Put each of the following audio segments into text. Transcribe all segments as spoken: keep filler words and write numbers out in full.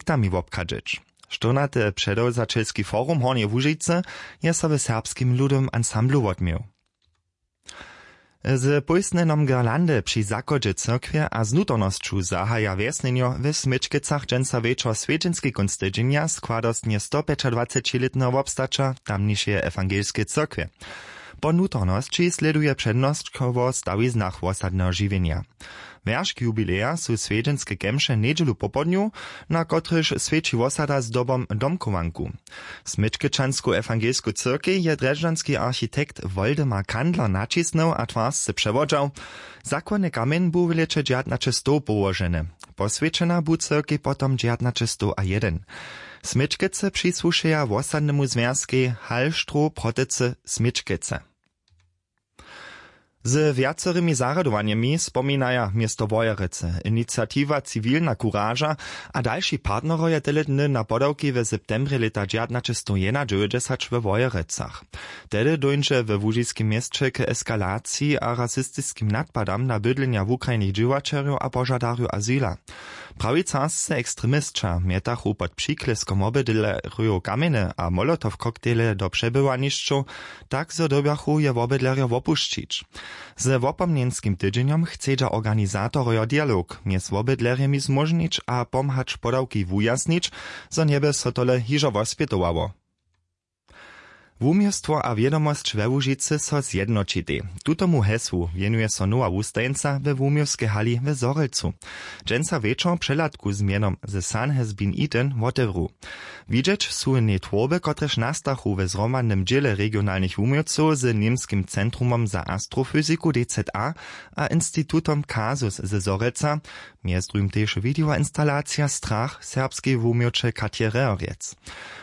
architektami wobchadźeć. Štyrnaty předewzaćelski forum hornjeje łužicy je so w serbskim ludowym ansamblu wotměł. Z pójstnjenom girlandy při zachodźe cyrkwje a z nutornosću zahaja wjesnjenjo w směčkecach dźensa wječor swjedźenski kónc tydźenja składostnje stopjećadwacećilětneho wobstaća tamnišeje ewangelskeje cyrkwje. Po nutornosći slěduje přednosć wo stawiznach wosadneho žiwjenja. Wjeršk jubileja su swjedźenske kemše njedźelu popołdnju, na kotrychž swjeći wosada zdobom domchowanku. Směčkečansku ewangelsku cyrkej je drježdźanski architekt woldemar kandler naćisnył a twarsce přewodźał. Zakładny kamjeń bu w lěće dźewjatnaćestow połoženy. Poswjećena bu cyrkej potom dźewjatnaćestow a jedyn. Směčkece přisłušeja wosadnemu zwjazkej halštrow protecy směčkece. Z wjacorymi zarjadowanjemi spominaja město wojerecy iniciatiwa ciwilna kuraža a dalši partnerojo tele dny na podawki w septembrje lěta dźewjatnaćestowjednadźewjećdźesać we wojerecach. Tehdy dóńdźe we łužiskim měsće k eskalaciji a rasistiskim nadpadam na bydlenja wukrajnych dźěłaćerjow a požadarjow azyla. Prawicarsce ekstremisća mjetachu pod přikleskom wobydlerjow kamjeny a molotow koktejle do přebywanišćow, tak zo dyrbjachu je wobydlerjo wopušćić. Ze wopomnjenskim tydźenjom chcedźa organizatorojo dialog mjez wobydlerjemi zmóžnić a pomhać podawki wujasnić, zo njeby so tole hižo wospjetowało. Wuměłstwo a wědomosć we łužicy so zjednoćitej. Tutomu hesłu wěnuje so nowa wustajeńca we wuměłskej hali w zhorjelcu. Dźensa wječor přehladku z mjenom the sun has been eaten wotewru. Widźeć su w njej twórby kotrež nastachu we zhromadnym dźěle regionalnych wuměłcow z němskim centrumom za astrofyziku dza a institutom kasus ze zhorjelca. Mjez druhim tež widejoinstalacija strach serbskeje wuměłće katje reorjec.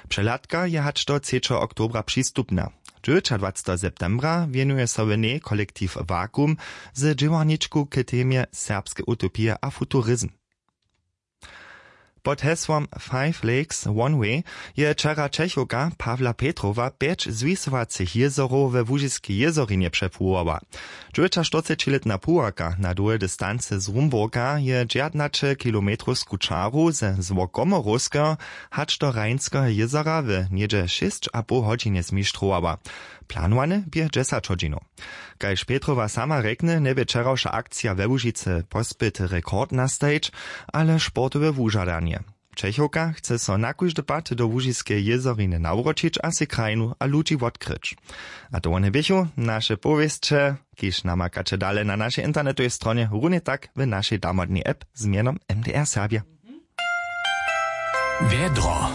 Přehladka je hač do třećeho oktobra přistupna. Dźewjećadwaceteho septembra wěnuje so w njej kolektiw vakuum z dźěłarničku k temje serbske utopije a futurizm. Pod hesłom five lakes one way je wčera čechowka pawla petrowa pjeć zwisowacych jězorow we łužiskej jězorinje přepływała. Dźewjećaštyrcećilětna puwarka na dołhe distancy z rumburka je dźewjatnaće kilometrowsku čaru ze złokomorowskeho hač do rheinskeho jězora w něhdźe šěsć a poł hodźinje zmištrowała. Planowane bě dźesać hodźinow. Kaž petrowa sama rjekny njebě wčerawša akcija we łužicy pospyt rekord nastajić, ale sportowe wužadanje. Čechowka chce so na kóždy pad do łužiskeje jězoriny nawróćić a sej krajinu a ludźi wotkryć. A to wone běchu naše powěsće, kiž namakaće dale na našej internetowej stronje runje tak w našej damodnej app z mjenom mdr serbja. Wjedro.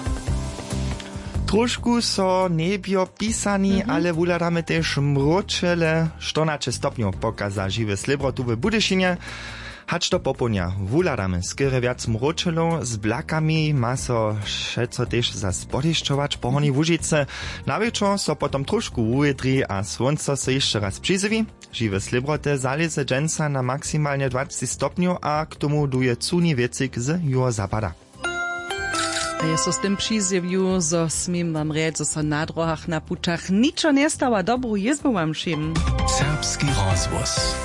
Trošku so njebjo pisani, ale wuhladamy tež mróčele. Štyrnaće stopnjow pokaza žiwe slěbrotu w budyšinje. Hač do popołdnja wuhladamy skerje wjac mróčelow z blakami ma so wšeco tež zas podešćować po hornjej łužicy. Na wječor so potom trošku wuwědri a słónco so hišće raz přizjewi. Žiwe slěbroty zalěze dźensa na maksimalnje dwacci stopnjow a k tomu duje cuni wětřik z juhozapada. A je so z tym přizjewił zo směm wam rjeć zo so na drohach na pućach ničo njestawa dobru jězbu wam wšěm. Serbski rozhłos.